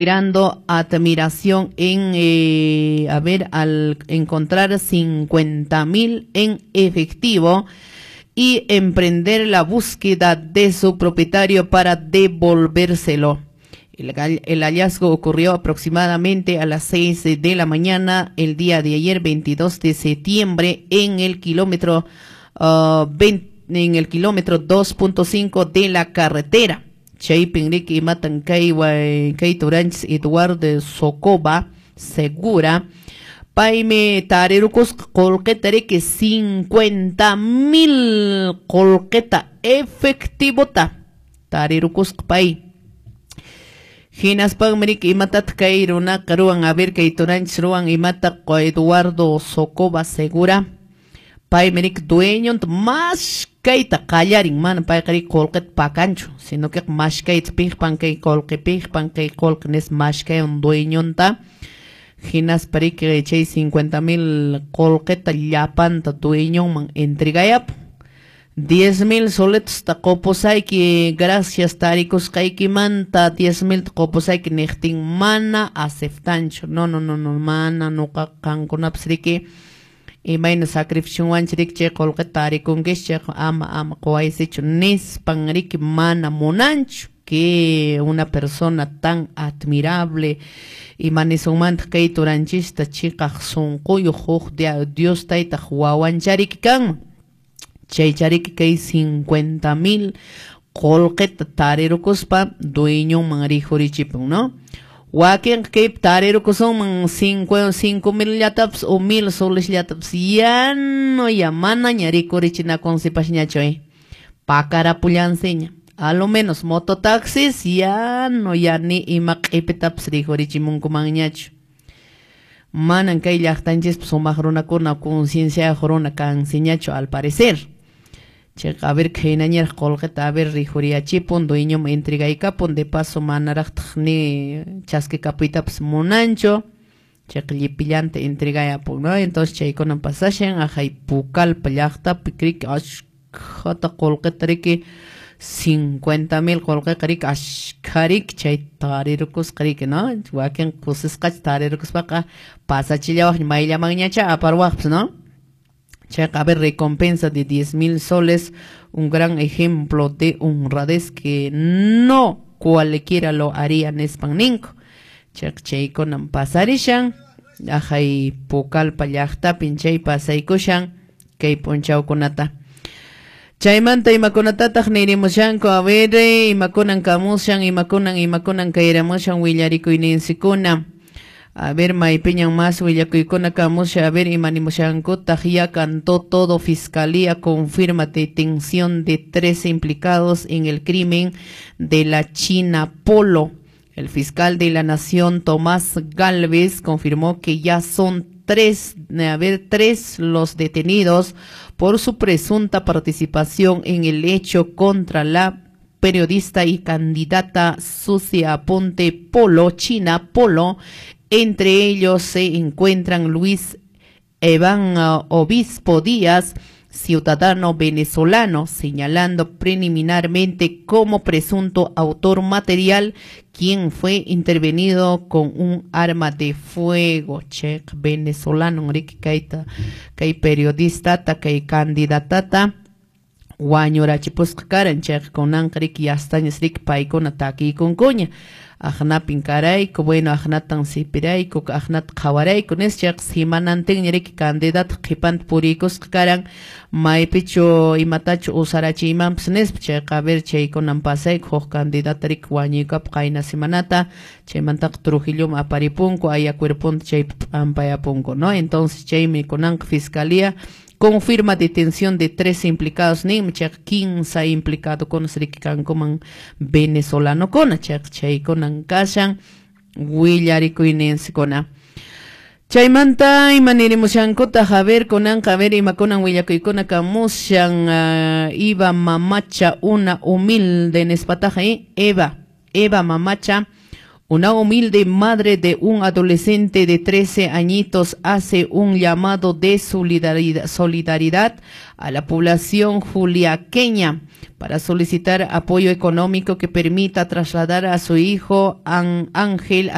Inspirando admiración en, a ver, al encontrar 50,000 en efectivo y emprender la búsqueda de su propietario para devolvérselo. El hallazgo ocurrió aproximadamente a las 6 de la mañana el día de ayer, 22 de septiembre, en el kilómetro 20, en el kilómetro 2.5 de la carretera. Chaypin riki imatan kay kay turanchis Eduardo Socoba Segura paymi tarirukusqa qullqita riki 50,000 qullqita efectivota tarirukusqa pay. Hinaspanmi riki imatataq kay runaqa ruwan, a ver, kay turanchis ruwan imata Eduardo Socoba Segura paymi riki dueñonta mashkayta qallarin, mana payqa riki qullqita pakanchu, sino que mashkayta piqpan kay qullqi, piqpan kay qullqi nispa mashkaywan dueñonta. Hinaspa riki chay 50,000 qullqita llapanta dueñonman entregayapun. 10,000 soletosta qupusayki, gracias tarikusqaykimanta 10,000 ta qupusayki niqtin mana aceptanchu. No, no, no, no, mana nuqa qankunapas riki imayna sacrificiowanchik riki chay qullqita tarikunkichis, chayqa ama ama quwaysichu nispan riki mana munanchu. Que una persona tan admirable, ima nisunmantaq kay turanchista, chiqaq sunquyuq huk Dios taytaq wawanchariki kanman. Chaychariki kay 50,000 qullqita tarirukuspa dueñonman rikhurichipun, ¿no? Wakinqa kaypi tarirukusunman 5,000 llatapas o 1,000 soles llatapas, ya no, ya manaña rikurichinakunsipasñachu, pakarapullansiña. A lo menos mototaxis ya no, ya ni ima q'ipitapas rikurichimunkumanñachu. Manan kay llaqtanchispi sumaq runakuna concienciayuq runa kansiñachu al parecer. Chayqa a ver khaynañaraq qullqita a ver rikhuriyachipun, dueñoman entregaykapun, de paso manaraqtaq ni chaskikapuytapas munanchu. Chayqa llipillanta entregayapun, ¿no? Entonces chaykunan pasashan aqhay Pucallpa llaqtapi riki ashkhata qullqita riki 50,000 qullqiqa riki ashkha riki chay tarirukusqa riki, ¿no? Wakin kusisqacha tarirukuspaqa pasachillawaqña mayllamanñacha aparwaqpas, ¿no? Chayqa a ver recompensa de 10,000 soles, un gran ejemplo de honradez que no cualquiera lo haría nispan ninku. Chayqa chaykunan pasarishan aqhay Pucallpa llaqtapin chay pasaykushan kay p'unchawkunata. Chaymanta imakunatataq nirimushanku, a ver, imakunan kamushan, imakunan imakunan kayramushan willarikuyninsikuna. A ver, maypiñan más willakuykuna kamushan, a ver, imanimushankutaq, ya cantó todo, fiscalía confirma detención de 3 implicados en el crimen de la China Polo. El fiscal de la Nación, Tomás Gálvez, confirmó que ya son 3 los detenidos por su presunta participación en el hecho contra la periodista y candidata Sucia Aponte Polo, China Polo. Entre ellos se encuentran Luis Evan Obispo Díaz, ciudadano venezolano, señalando preliminarmente como presunto autor material, quien fue intervenido con un arma de fuego. Che, venezolano, riki kayta, kay periodista, ta kay candidatata, wañurachipusqa karan, chayqa kunanqa riki yastañas riki paykuna takiykunkuña. Aqnapin karayku, bueno, aqnatan sipirayku, aqnata qhawarayku, nispa chayqa simanantinña riki candidato qhipanta puriykusqa karan, maypichu imatachu usarachiymanpas nispa chayqa a ver chaykunan pasayku, huk candidata riki wañuykapu qayna semanata, chaymantaqa Trujilloman aparipunku, aya cuerponta chaypi p'ampayapunku, ¿no? Entonces chaymi kunanqa fiscalía confirma detención de 3 implicados, ninmi chayqa 15 implicadokuna riki kankuman venezolanokuna, chayqa chaykunan kashan willarikuyninsikuna. Chaymanta ima nirimushankutaq, a ver kunanqa, a ver imakunan willakuykuna kamushan, Eva Mamacha, una humilde nispataqa, Eva, Eva Mamacha, Una humilde madre de un adolescente de 13 añitos hace un llamado de solidaridad a la población juliaqueña para solicitar apoyo económico que permita trasladar a su hijo Ángel.